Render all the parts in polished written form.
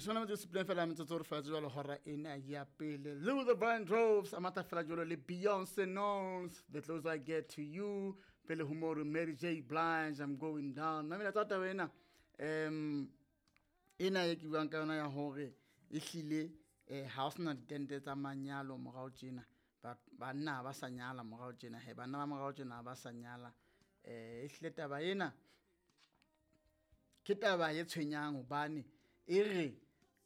Leshome le metso e supileng fela metsotso re fela jwalo hora ena ya pele. Luther Vandross a matha fela jwalo le Beyonce Knowles, The Closer I Get to You. Pele ho moo Mary J Blige, I'm Going Down. Mamela tsa taba ena, ena e ke buang ka yona ya hore ehlile ha o sena ditente tsa manyalo morao tjena. Banna ha ba sa nyala morao tjena, he banna ba morao tjena ha ba sa nyala. Ehlile taba ena ke taba e tshwenyang hobane e re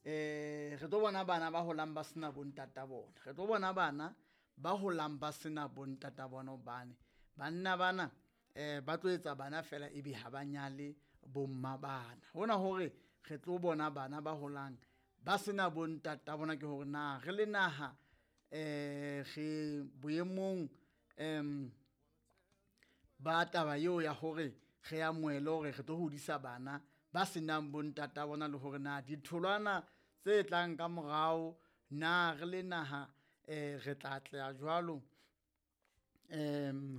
re tlo bona bana ba holang ba sena bontata bona, re tlo bona bana ba holang ba sena bontata bona hobane banna bana ba tlo etsa bana fela ebe ha ba nyale bomma bana. Hona hore re tlo bona bana ba holang ba sena bontata bona ke hore na re le naha re boemong ba taba eo ya hore re amohele hore re tlo hodisa bana ba senang bontata bona, le hore na ditholwana tse tlang ka morao na re le naha re tla atleha jwalo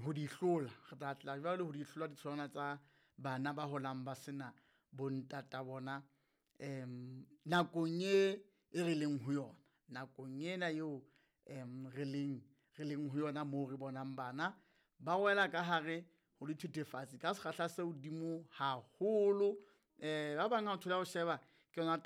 ho di hlola, re tla atleha jwalo ho di hlola ditholwana tsa bana ba holang ba sena bontata bona nakong e re leng ho yona, nakong ena eo re leng ho yona moo re bonang bana ba wela ka hare ho dithethefatsi ka sekgahla se hodimo haholo. Ba bang ha o thola ho sheba ke yona taba.